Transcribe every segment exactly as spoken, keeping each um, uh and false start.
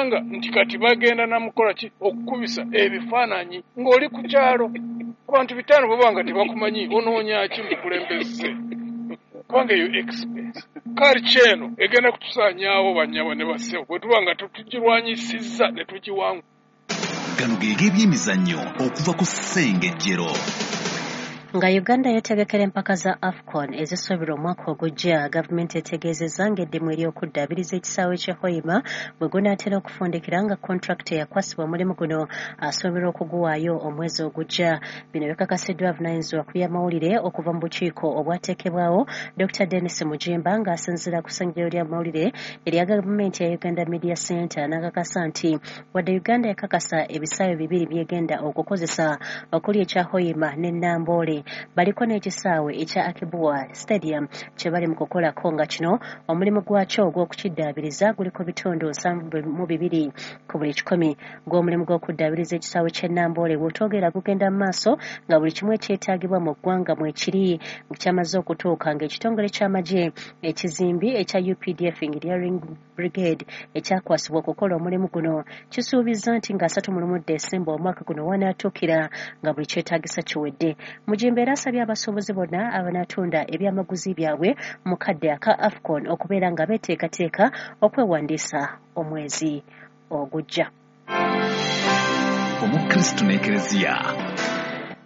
N'osanga nti kati bagenda namukola ki okukubisa ebifaananyi ng'oli ku kyalo. Abantu bitaano bwe nga tebakumanyi, onoonya ki mukulembeze? Kubanga eyo expense. Culture eno egenda kutusaanyaawo, bannyabo ne bassebo, bwe tuba nga tetugirwanyisizza ne tugiwangula. Gano ge g'ebyemizannyo okuva ku Ssengejjero. Nga Uganda yeetegekera empaka za AFCON ezisuubirwa omwaka ogujja, gavumenti etegeezezza ng'eddimu ery'okuddaabiriza ekisaawe ky'e Hoima bwe gunaatera okufundikira, nga kontrakiti eyakwasibwa omulimu guno asuubirwa okuguwaayo omwezi ogujja. Bino bikakasiddwa avunaanyizibwa ku by'amawulire okuva mu bukiiko obwateekebwawo, Doctor Denis Mugimba, ng'asinziira ku ssengejjero ly'amawulire erya gavumenti ya Uganda Media Center, n'akakasa nti wadde Uganda yakakasa ebisaawe bibiri by'egenda okukozesa, okuli ekya Hoima ne Namboole, baliko n'ekisaawe ekya Akibua Stadium kye bali mu kukolako, nga kino omulimu gwakyo ogw'okukiddaabiriza guliko bitundu nsanvu mu bibiri ku buli kikumi. Gw'omulimu gw'okuddaabiriza ekisaawe ky'e Namboole bw'otwogera gugenda mu maaso, nga buli kimu ekyetaagibwa mu ggwanga mwekiri kyamaze okutuuka, ng'ekitongole ky'amagye ekizimbi ekya U P D F Engineering Brigade ekyakwasibwa okukola omulimu guno kisuubizza nti nga asatu mu lumu Desemba omwaka guno wanaatuukira nga buli kyetaagisa kiwedde. Mugimba era asabye abasuubuzi bonna abanaatunda ebyamaguzi byabwe mu kadde aka AFCON okubeera nga beeteekateeka okwewandiisa omwezi ogujja. Omukristu n'Ekereziya.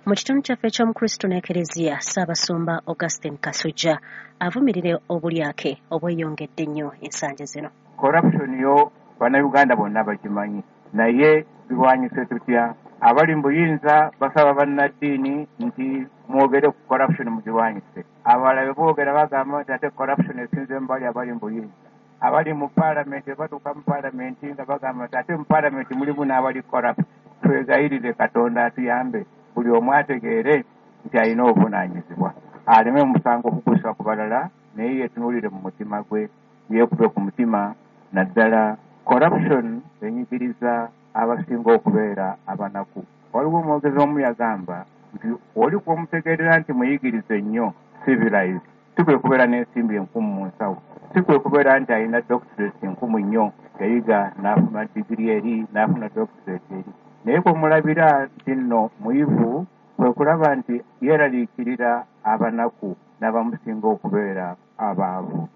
Mu kitundu kyaffe eky'Omukristu n'Ekereziya, Ssaabasumba Augustine Kasujja avumirira obulyake obweyongedde ennyo ensangi zino. Corruption yo Bannayuganda bonna bakimanyi, naye birwanyise tutya? Abali mu buyinza basaba bannaddiini nti mwogere ku corruption, mugirwanyise. Abalala bwe boogera bagamba nti ate corruption esinze mu bali abali mu buyinza. Abali mu paalamenti batuuka mu paalamenti nga bagamba nti ate mu paalamenti mulimu n'abali corrupt. Twegayirire Katonda atuyambe, buli omu ategeere nti alina obuvunaanyizibwa, aleme omusango okugusa ku balala, naye yeetunuulire mu mutima gwe, yeekube ku mutima. Naddala corruption enyigiriza abasinga okubeera abanaku. Waliwo omwogezi omu yagamba nti oli kwomutegeerera nti muyigirize nnyo, civilized, si kwe kubeera n'ensimbi enkumu mu nsawo, si kwe kubeera nti alina doctorate nkumu nnyo, yayiga n'afuna digiri eri, n'afuna doctorate eri, naye kwemulabira nti nno muyivu kwe kulaba nti yeeraliikirira abanaku n'abamusinga okubeera abaavu.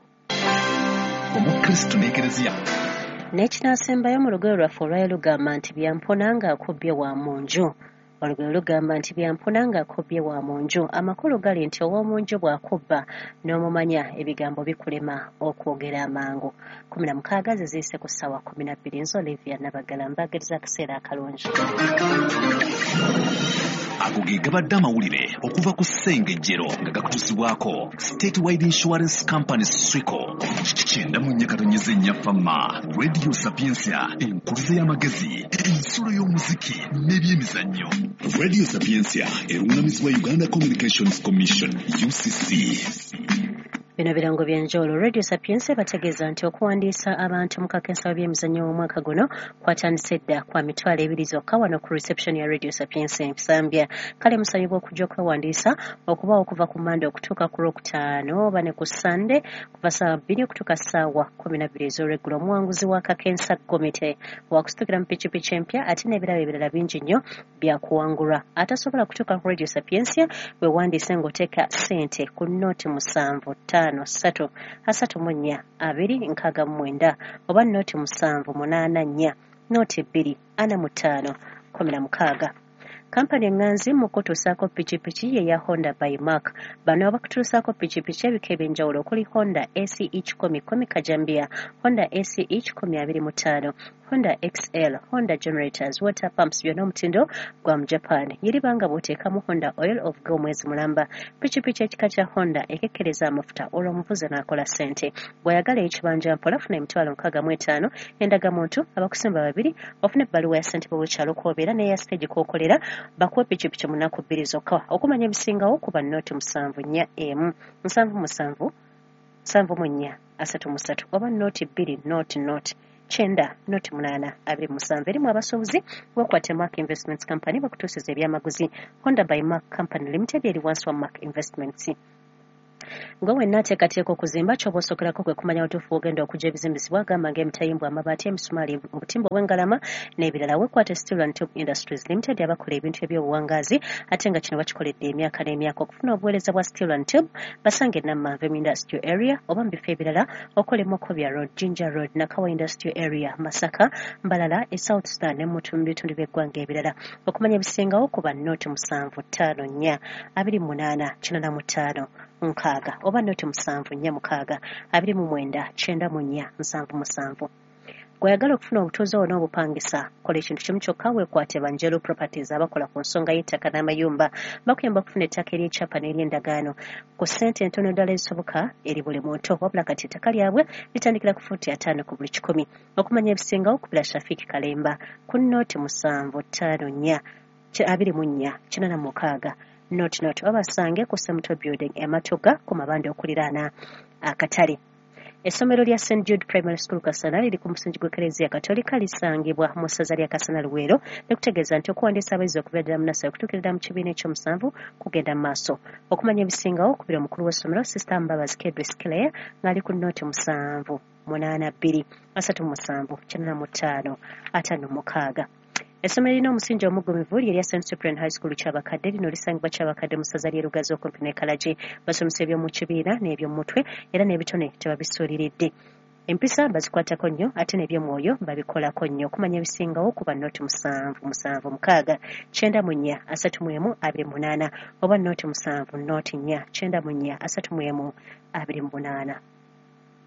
Omukristu n'Ekereziya. N'ekinaasembayo mu lugero lwaffe olwayo lugamba nti byampuna ng'akubbye wa mu nju. Olugero lugamba nti byampuna ng'akubbye wa mu nju. Amakulu gali nti ow'omu nju bw'akubba n'omumanya, ebigambo bikulema okwogera amangu. Kumi na mukaaga ze ziyise ku ssaawa kumi na bbiri. Nze Olivia Nabagala, mbaagiriza akaseera akalungi. Ago ge gabadde amawulire okuva ku Ssengejjero, nga gakutuusibwako Statewide Insurance Company, SWICO. Kyenda mu nnya katonyeza ennya Fama Radio Sapiensia, enkuluze y'amagezi, ensulo y'omuziki n'ebyemizannyo. Radio Sapiensia eruŋŋamizibwa Uganda Communications Commission, U C C. Bino birango byanjawulo. Radio Sapiensia bategeeza nti okuwandiisa abantu mu kakensa by'emizannyo omwaka guno kwatandise dda kwa mitwalo ebiri zokka wano ku reception ya Radio Sapiensia Nsambya. Kale musabibwa okujja okwewandiisa okubaawo okuva ku Mande okutuuka ku Lwokutaano, oba ne ku Sande kuva ssaawa bbiri okutuuka ssaawa kumi na bbiri ez'olweggulo. Omuwanguzi wa kakensa gomite wakusitukira mu pikipiki empya, ate n'ebirabo ebirala bingi nnyo byakuwangulwa. Atasobola kutuuka ku Radio Sapiensia, weewandiise ng'oteeka ssente ku nooti musanvu ttaano ssatu asatu mu nnya abiri nkaaga mu mwenda, oba nooti musanvu munaana nnya nooti bbiri ana mu ttaano kumi na mukaaga. Kampani eŋŋanzi mu kutuusaako pikipiki ye ya Honda by Mark. Bano bakutuusaako pikipiki ebika ebyenjawulo okuli Honda A C E kikumi kumi kajambia, Honda A C E kikumi abiri mu ttaano, Honda X L, Honda generators, water pumps, byonna omutindo gwa mu Japan. Yeribanga bw'oteekamu Honda oil ovuga omwezi mulamba. Pikipiki ekika kya Honda ekekkereza amafuta, olwo omuvuzi n'akola ssente. Bw'oyagala ekibanja mpola, funa emitwalo nkaaga mu etaano, endagamuntu, abakusimba babiri, ofuna ebbaluwa ya ssentebe w'ekyalo kw'obeera n'eya siteegi kw'okolera, bakuwa pikipiki mu nnaku bbiri zokka. Okumanya ebisingawo, kuba nooti musanvu nnya emu nsanvu musanvu nsanvu mu nnya asatu mu ssatu, oba nooti bbiri nooti nooti kyenda nooti munaana abiri musanvu. Erimu abasuubuzi, wekwate Mark Investments Company bakutuusiza ebyamaguzi. Honda by Mark Company Limited eri wansi wa Mark Investments. Gwe wenna ateekateeka okuzimba, ky'oba osookerako kwe kumanya watuufu w'ogenda okujja ebizimbisibwa, gamba ng'emitayimbwa, amabaati, emisumaali, obutimba obw'engalama n'ebirala. Weekwate Steel and Tube Industries Limited abakola ebintu eby'obuwangaazi ate nga kino bakikoledde emyaka n'emyaka. Okufuna obuweereza bwa Steel and Tube basange Nammanve mu Industrial Area oba mu bifo ebirala okola Mokobya Road, Jinja Road, Nakawa Industrial Area, Masaka, Mbalala, e South Sudan ne mu bitundu by'eggwanga ebirala. Okumanya ebisingawo kuba noti musanvu ttaano nnya abiri munaana kinaana mu ttaano nkaaga oba noti musanvu nnya mukaaga abiri mu mwenda kyenda mu nnya nsanvu musanvu. Gw'oyagala okufuna obutuuze oba n'obupangisa, kola ekintu kimu kyokka, weekwate Banjelo Properties abakola ku nsonga y'ettaka n'amayumba. Bakuyamba okufuna ettaka ery'ekyapa n'ery'endagaano ku ssente entono ddala ezisoboka eri buli muntu. Wabula kati ettaka lyabwe litandikira ku fuuti ataano ku buli kikumi. Okumanya ebisingawo kubira Shafiki Kalemba ku noti musanvu ttaano nnya abiri mu nnya kinaana mu mukaaga noti noti oba basange ku Semuto Building e Matoga ku mabanda okuliraana akatale. Essomero lya Saint Jude Primary School Kasana liri ku musingi gw'Ekereziya Katolika, lisangibwa mu ssaza lya Kasana Luweero, nekutegeeza nti okuwandiisa abayizi okuva ddala mu nursery okutuukira ddala mu kibiina ekyomusanvu kugenda mu maaso. Okumanya ebisingawo okubira omukulu w'essomero Sister Mbabazi Kedris Claire ng'ali ku noti musanvu munaana bbiri asatu musanvu kinaana mu ttaano ataano mukaaga. Essomero lirina omusingi omuggumivu lye lya Saint Cyprian High School Kyabakadde. Lino lisangibwa Kyabakadde mu ssaza ly'e Lugazi okumpi ne Kalagi. Basomesa eby'omu kibiina n'eby'omu mutwe era n'ebitone tebabisuuliridde. Empisa bazikwatako nnyo ate n'ebyomwoyo babikolako nnyo. Okumanya ebisingawo kuba noti musanvu musanvu mukaaga kyenda mu nnya asatu mu emu abiri munaana oba noti musanvu noti nnya kyenda mu nnya asatu mu emu abiri mu munaana.